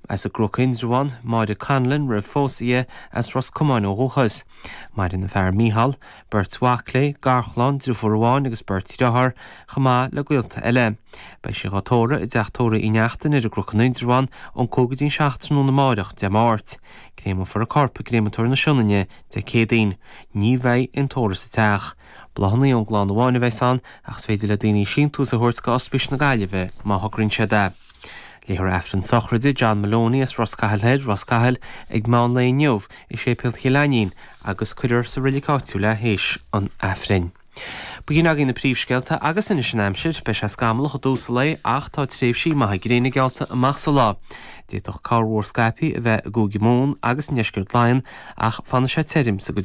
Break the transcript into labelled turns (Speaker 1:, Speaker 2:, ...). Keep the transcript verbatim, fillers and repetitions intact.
Speaker 1: as an gCnoc Indreabhán, Máire Conlon roimh phósadh di, as Ros Comáin ó dhúchas. Maireann a fear Mícheál, beirt mhac léi, garchlann, deirfiúr amháin agus beirt dheartháir, chomh maith le gaolta eile. Beidh sí á tórramh i dteach tórraimh Uí Neachtain ar an gCnoc in Indreabhán ón cúig go dtí an seacht tráthnóna amárach, Dé Máirt. Créamfar a corp i gcréamatóir na Sionainne Dé Céadaoin. Ní bheidh aon tórramh sa teach. Bláthanna ón gclann amháin a bheas ann ach is féidir le daoine síntiús a thabhairt go Ospís na Gaillimhe má thograíonn siad é. Léifear Aifreann sochraide John Maloney as Ros Cathail Thoir, Ros Cathail, ag meán lae inniu i Séipéal Chill Ainnín agus cuirfear sa reilig áitiúil é théis an Aifrinn. B'in agaibh na príomhscéalta agus anois an aimsir, beidh sé scamallach i dtús an lae ach tá tréimhsí maithe gréine geallta amach sa lá. D'fhéadfadh corrmhúr scaipthe a bheith i gCúige Mumhan agus i ndeisceart Laighean ach fanfaidh sé tirim sa gcuid